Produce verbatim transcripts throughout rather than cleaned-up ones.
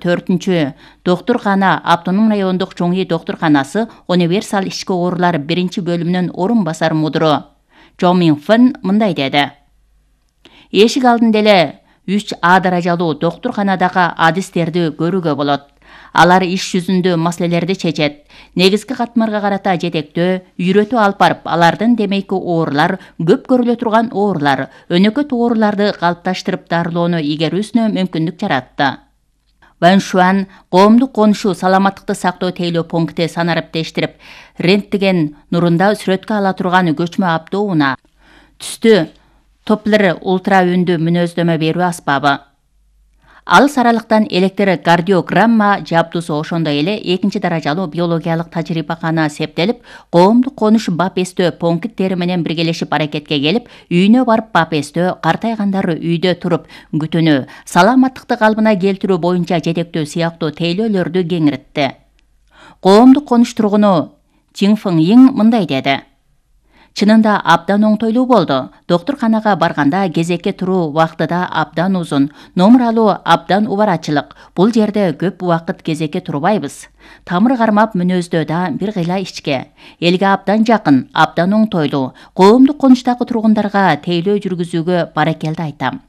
төртүнчү доктуркана автономдук райондук чоң үй доктурканасы универсал ички оорулар биринчи бөлүмүнүн орун басар мудуру Чжо Минфэн мындай деди. Эшик алдында эле үч А даражалуу доктурканадагы адистерди көрүүгө болот. Алар иш жүзүндө маселелерди чечет. Негизги катмарга карата жетектөө, үйрөтүү алып барып, алардын демейки оорулар, көп көрүлө турган оорулар, өнөкөт ооруларды калыпташтырып дарылоону игерүүсүнө мүмкүндүк жаратты. Ван Шуан коомдук конушуу саламаттыкты сактоо тейлөө пункти санариптештирип, рентген нурунда сүрөткө ала турган көчмө автоунаа, түстү Доплер ультра үндүү мүнөздөмө берүү аспабы. Алыс аралыктан электрокардиограмма жабдуусу ошондой эле экинчи даражалуу биологиялык тажрыйбакана септелип, коомдук конуш бап эстөө пункттери менен биргелешип аракетке келип, үйүнө барып бап эстөө, картайгандар үйдө туруп күтүүнү, саламаттыкты калыбына келтирүү боюнча жетектөө сыяктуу тейлөөлөрдү кеңиретти. Коомдук конуш тургуну Чиң Фың Йиң мындай деди. Чынында абдан оңтойлуу болду. Доктурканага барганда кезекке туруу убакыты да абдан узун. Номер алуу абдан убарачылык. Бул жерде көп убакыт кезекке турбайбыз. Тамыр кармап мүнөздөө да бир кыйла ичке. Элге абдан жакын, абдан оңтойлуу. Коомдук конуштагы тургундарга тейлөө жүргүзүүгө баракелди айтам.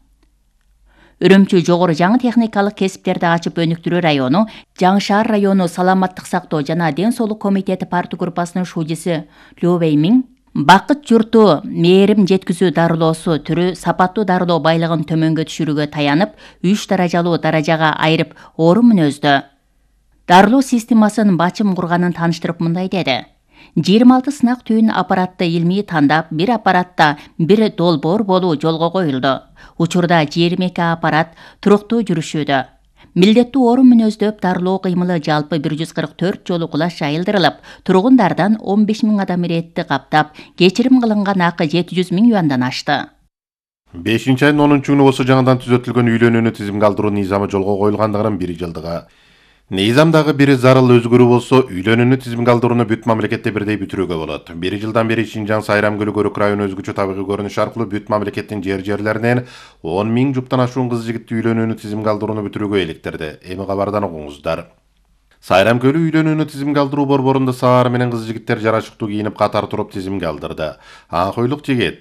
Үрүмчү жогору жаңы техникалык кесиптерди ачып өнүктүрүү району, Жаңы шаар району саламаттык сактоо жана ден соолук комитети партия группасынын шуудиси Лю Вэймиң бакыт журту мээрим жеткизүү дарылоосу түрү сапаттуу дарылоо байлыгын төмөнгө түшүрүүгө таянып, үч даражалуу даражага айырып орун мүнөздө дарылоо системасын бачым курганын тааныштырып мындай деди. жыйырма алты сынак түйүн аппаратты илмий тандап, бир аппаратта бир долбоор болуу жолго коюлду. Учурда жыйырма эки аппарат туруктуу жүрүшүүдө. Милдеттүү орун мүнөздөп дарылоо кыймылы жалпы бир жүз кырк төрт жолу кулаш жайылдырылып, тургундардан он беш миң адам иретти каптап, кечирим кылынган акы жети жүз миң юандан ашты. бешинчи айдын онунчу күнү болсо жаңыдан түзөтүлгөн үйлөнүүнү тизимге алдыруу низамы жолго коюлгандыгынын бир жылдыгы. Низамдагы бир зарыл өзгөрүү болсо, үйлөнүүнү тизимге алдырууну бүт мамлекетте бирдей бүтүрүүгө болот. Бир жылдан бери Шинжаң Сайрам Көлү Көрүк району өзгөчө табигый көрүнүш аркылуу бүт мамлекеттин жер-жерлеринен он миң жуптан ашуун кыз жигитти үйлөнүүнү тизимге алдырууну бүтүрүүгө иликтирди. Эми кабардан угуңуздар. Сайрам Көлү үйлөнүүнү тизимге алдыруу борборунда саар менен кыз жигиттер жарашыктуу кийинип катар туруп тизимге алдырды. Аңкойлук жигит